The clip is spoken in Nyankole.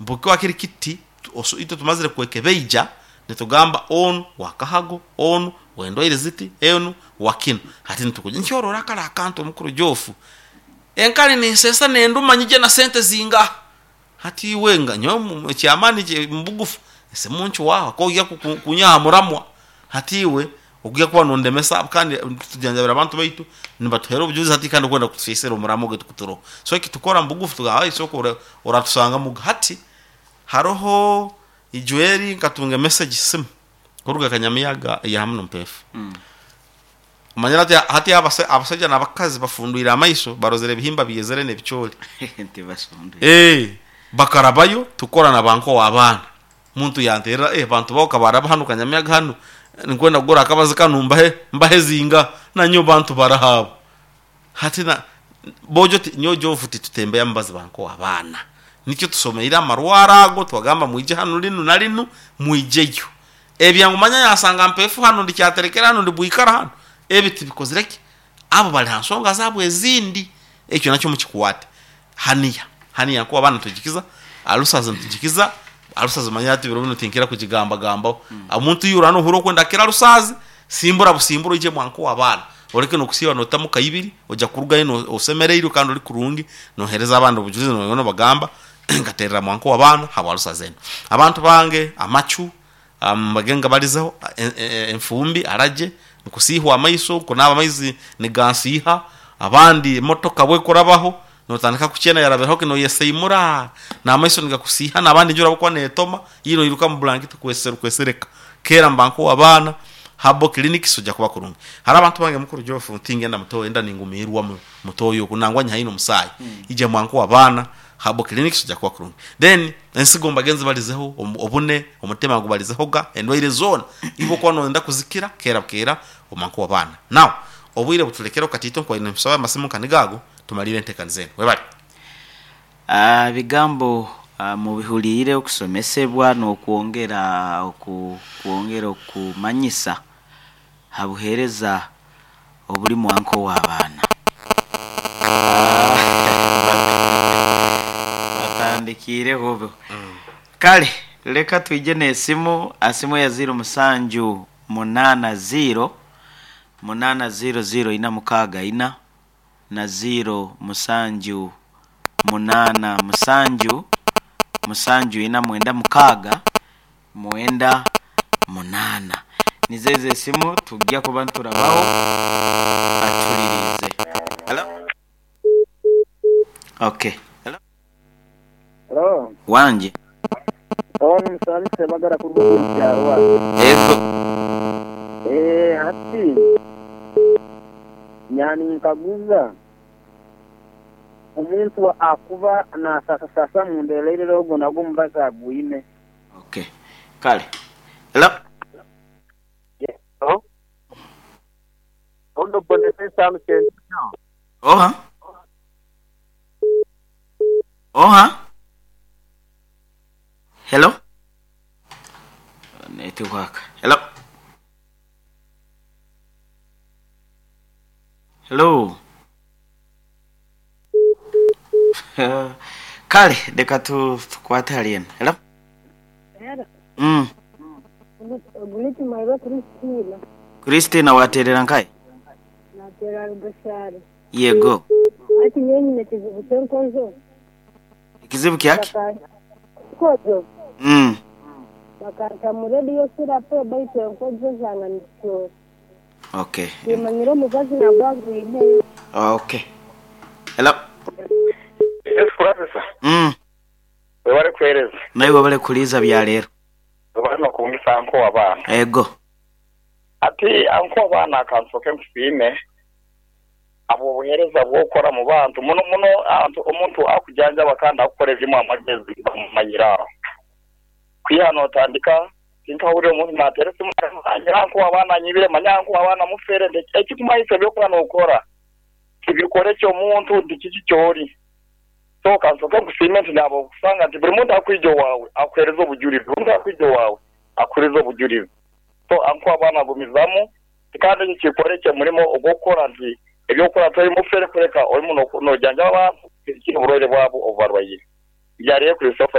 Mbu kiri kiti, itwe tumazire kwekebeija nitugamba onu wa kahago, onu w'endwaire ziti, onu wa kinu. Hati nitukugira nti orora kare akantu omukuru Geoff, enkari ninseesa nenduma nyije na sente zingaha? Hati iwe nga nyowe eky'amaani mu bugufu esimu nkiwaho ahakuba oija kunyiha aha muramwa. Hati iwe oija kuba nondemesa kandi tujanjabire abantu baitu nibatuheera obujulizi hati kandi orikwenda kutusiisira omuramwa gwaitu ogu turiho. So eki tukora omu bugufu tugamba aye sooka oratushangamu. Hati hariho ijo eri nkatunga emesegi simu kuruga Kanyamiyaga eya hamu n'Ompeefu. Omanyire hati hati abasaija n'abakazi bafundwire amaiso barozire ebihimba byezire n'ebicoori. Ee, bakarabayo tukora na ba nkowa abaana. Omuntu yanteerera, eh bantu bawe ka baraba hanu Kanyamiyaga hanu, ninkwenda kugura akabazi kanu mbahe mbahe zinga? Nanyowe bantu baraha abo? Hati na boojo ti nyowe Joofu titutembeya mubazi ba nkowa abaana. Nikyo tusomeire amarwaro ago twagamba mwije hanu rinu na rinu mwijeyo. Ebya ngu manya yansanga mpeefu hanu ndi kyaterekere hanu ndi bwikara hanu, ebi tibikozire ki? Abo bari ha nshonga zaabo ezindi. Ekyo nakyo mukikwate. Haniya, haniya nkowa abaana nitugikiza, alusazi nitugikiza, alusazi manya hati biro binu tinkira kugigambagambaho. Omuntu yura nohurira okwenda kukira alusazi, simbura busimbura oije mwa nkowa abaana. Oreke nokusiiba notamu kaibiri, oja kurugayo osemereirwe kandi ori kurungi, nohereza abandi obujulizi nobagamba nkaterera mwa nkowa abaana habwa alusazi enu. Abantu bange amacu mbage ngabarizeho, enfumbi, aragye, nkusiihwa amaiso, nkunaaba amaizi nigansiiha, abandi emotoka bwekurabaho notandika kukyena yarabireho ki noyeseimura, n'amaiso nigakusiiha n'abandi enjura ahabw'okuba netoma, iwe noiruka omu bulangiti kwesereka. Keera mba nk'ow'abaana, Herbal Clinics oja kuba kurungi. Hariho abantu bange mukuru Geoff tingenda mutoyi enda ningumiirwa mutoyi oku nangwa nyihayo n'omusaayi. Ija mwa nk'ow'abaana, Herbal Clinics oja kuba kurungi. Then ensigo mbage nzibarizeho, obune, omutima ngubarizehoga, endwaire zoona iwe okuba noyenda kuzikira keera bukeera omwa nk'ow'abaana. Now obwire buturekereho katiito nkubaire ninkusaba amasimu nka nigo ago tumariire enteekaniza enu. Webare. Ebigambo mubihuliire okusomesebwa n'okwongera okwongera okumanyisa ha buheereza obuli mwanka ow'abaana. Batandikiireho bo. Kale leka twije n'esimu, asimu eya ziiro musanju munaana ziiro, munaana ziiro ziiro ina mukaaga ina. na ziiro musanju munaana musanju musanju ina mwenda mukaaga mwenda munaana. Nizo ezo esimu tugya kuba niturabaho atuliriize. Hello? Okay. Hello? Hello. Wangi. Onu Musaabi Ssebagala kuruga omu kyarwa. Ego. Eh, hati nyaninkaguza omuntu akuba nasasasasa munda erairira ogwo nagwo omubazi agwine? Okay. Kale. Hello. Hello. Ono Boniface Alukenyo. Oha. Oha. Hello. Netiwaaka. Hello. Hello. Kale leka tukwate hali eno. Hello. Hello. Mm. Ogu ni Kimarwa Christina. Christina waterera nkahe? Naterera Rubashare. Yego. Hati nyowe nyine ekizibu ky'enkojo. Ekizibu kyaki? Enkojo. Mm. Bakanta mu radio therapy baitu enkojo zanga nizisyoora. Okay. Timanyire omubazi nagwo agwine. Okay. Hello. Yes Professor. Mm. Webale kuhereza. Naiwe webale kuliiza bya leero. Webale nokungisa anko wabaana. Ego. Ati anko wabaana kansoke nkusiime ahabw'obuhereza bwokukora mu bantu muno muno omuntu akujanjaba kandi akukora ebirimu amagezi bamumanyire aho. Kwiha notandika tinkahurire omuntu natera esimu manya anko wabaana anyibire manya anko wabaana mufere nti ekikumanyisa ebyokuba nokora tibikora eky'omuntu nti kiki kyori. So kansoke nkusiime nti naaba okusanga nti buri muntu akwija owaawe akuhereza obujurizi, buri muntu akwija owaawe akuhereza obujurizi. So anko abaana gumizamu kandi ekyo kikore murimo ogw'okukora nti eby'okukora tori mufere kureka orimu nojanjaba abantu kuhikya oburwaire bwabo obu barwaire. Byarebe Christopher.